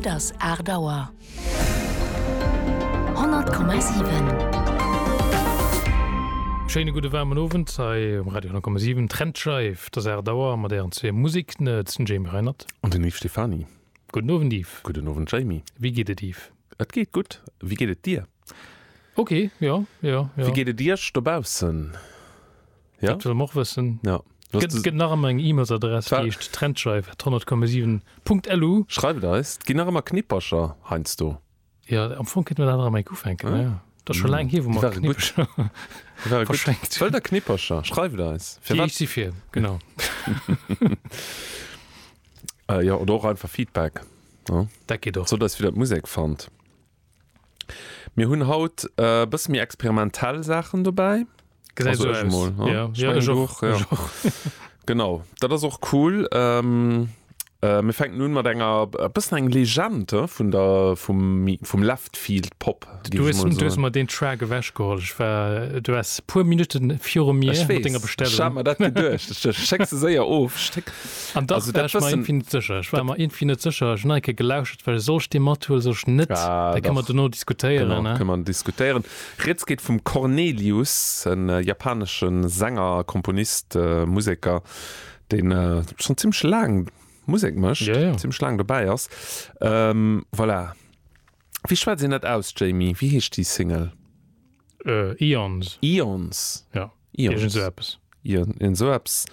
Et ass 8 Auer. 100,7. Schéine gudde waarmen Owend hei um Radio 10,7. Trendscheif, et ass 8 Auer mat ären zwee Musiknerds, den Jamie Reinert. An den Yves Stephany. Gudden Owend Yves. Gudden Owend Jamie. Wéi geet et Yves? Et geet gutt. Wéi geet et dir? Ok, jo, jo, jo. Wéi geet et iech dobaussen? Ja? Dat wëlle mer och wëssen. Ja. Gëtt, gëtt nach ëmmer eng E-Mails-Adress, déi heescht trendscheif@100,7.lu. Schreift eis. Et ginn nach ëmmer Knippercher heiansdo. Jo, am Fong kéinte mer dat nach ëmmer enk ufänken, ne? Dat ass scho laang hier, wou mer Knippercher verschenkt hunn. Wëllt der Knippercher? Schreift eis. Firwat? Déi si fir, genau. Jo, oder och einfach Feedback. Dat geet och. Sot eis, wéi der d'Musek fannt. Mir hunn haut e bësse méi experimentell Saachen dobäi. Gesäit esou aus. Mol, ja, ja, ech och. Ja. Ech och. Genau, dat ass och cool. Ähm, äh, mir fänken un mat enger e bëssen eng Legend vun der vum, vum Left Field Pop. Du hues, du hues mer deen Track ewechgeholl. Ech war, du waars puer Minutten viru mir mat denger Bestellung. Ech hat mer dat geduecht. Ech schéck se séier of. Schéck. An dach Also war dat ech mer bëssen. iergendwéi net sécher. Ech war mer iergendwéi net sécher. Ech hunn nach eng Kéier gelauschert, well soll ech dee mathuelen, soll ech net? Ah, Da kënne mer dach. dono diskutéieren, Genau, ne? kënne mer diskutéieren. Rieds geet vum Cornelius, en japanesche Sänger, Komponist, Museker, deen schonn zimmlech laang Musek mécht, Ja, ja. zimmlech laang dobäi ass. Voilà. Wéi schwätzt een dat aus, Jamie? Wéi heescht déi Single? Eons. Eons. Ja. Eons. Iergend esou eppes. Iergend esou eppes.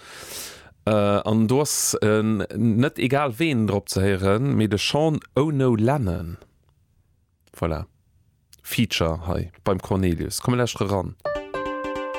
An do ass net egal ween drop ze héieren, mee de Sean Ono Lennon. Voilà. Feature hei beim Cornelius. Komm mir lauschtere ran.